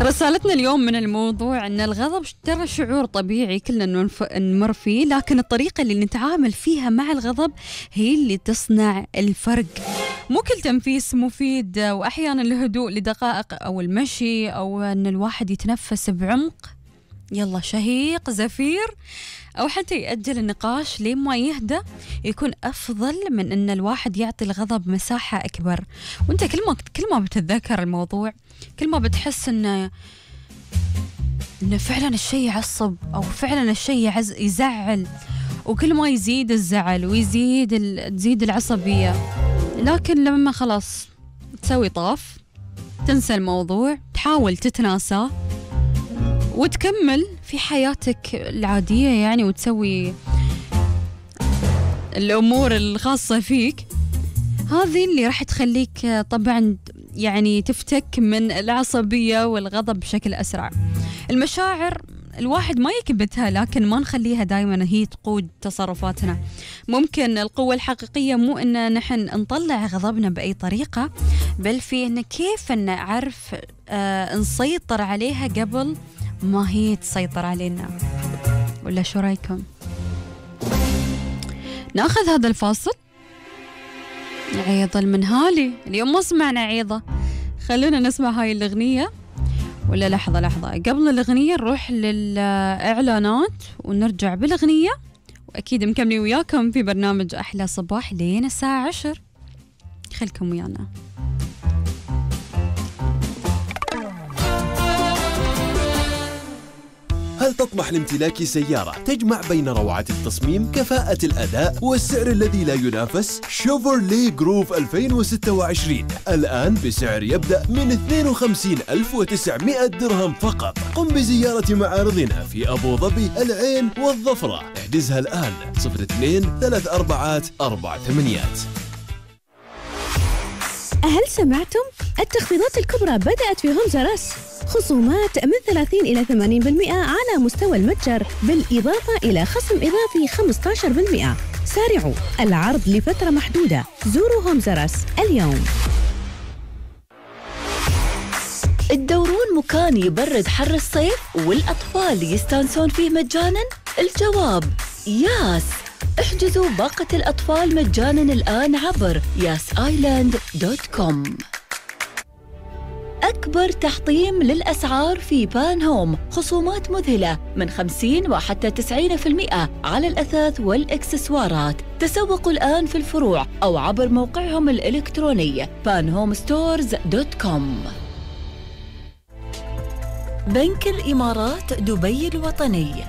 رسالتنا اليوم من الموضوع أن الغضب ترى شعور طبيعي كلنا نمر فيه، لكن الطريقة اللي نتعامل فيها مع الغضب هي اللي تصنع الفرق. مو كل تنفيس مفيد، وأحيانا الهدوء لدقائق أو المشي أو أن الواحد يتنفس بعمق، يلا شهيق زفير، أو حتى يأجل النقاش لين ما يهدى، يكون أفضل من أن الواحد يعطي الغضب مساحة أكبر. وأنت كل ما بتتذكر الموضوع، كل ما بتحس أن فعلا الشيء يعصب أو فعلا الشيء يزعل، وكل ما يزيد الزعل تزيد العصبية. لكن لما خلاص تسوي طاف، تنسى الموضوع، تحاول تتناساه وتكمل في حياتك العادية يعني، وتسوي الأمور الخاصة فيك، هذه اللي راح تخليك طبعا يعني تفتك من العصبية والغضب بشكل أسرع. المشاعر الواحد ما يكبتها، لكن ما نخليها دائما هي تقود تصرفاتنا. ممكن القوة الحقيقية مو إن نحن نطلع غضبنا بأي طريقة، بل في إن كيف نعرف نسيطر عليها قبل ما هي تسيطر علينا. ولا شو رايكم؟ ناخذ هذا الفاصل. عيض المنهالي اليوم ما سمعنا عيضة، خلونا نسمع هاي الأغنية. ولا لحظة قبل الأغنية نروح للإعلانات ونرجع بالأغنية، وأكيد مكملين وياكم في برنامج أحلى صباح لين الساعة 10. خلكم ويانا. هل تطمح لامتلاك سيارة تجمع بين روعة التصميم، كفاءة الأداء والسعر الذي لا ينافس؟ شيفروليه جروف 2026 الآن بسعر يبدأ من 52,900 درهم فقط. قم بزيارة معارضنا في أبو ظبي، العين والظفرة. احجزها الآن 02-34-48. هل سمعتم؟ التخفيضات الكبرى بدأت في هومز آر أس، خصومات من 30 إلى 80% على مستوى المتجر، بالإضافة إلى خصم إضافي 15%. سارعوا، العرض لفترة محدودة. زوروا هومز آر أس اليوم. تدورون مكان يبرد حر الصيف والأطفال يستانسون فيه مجانا؟ الجواب ياس. احجزوا باقة الأطفال مجانا الآن عبر yasisland.com. أكبر تحطيم للأسعار في بان هوم، خصومات مذهلة من 50 وحتى 90% على الأثاث والإكسسوارات. تسوقوا الآن في الفروع أو عبر موقعهم الإلكتروني panhomestores.com. بنك الإمارات دبي الوطني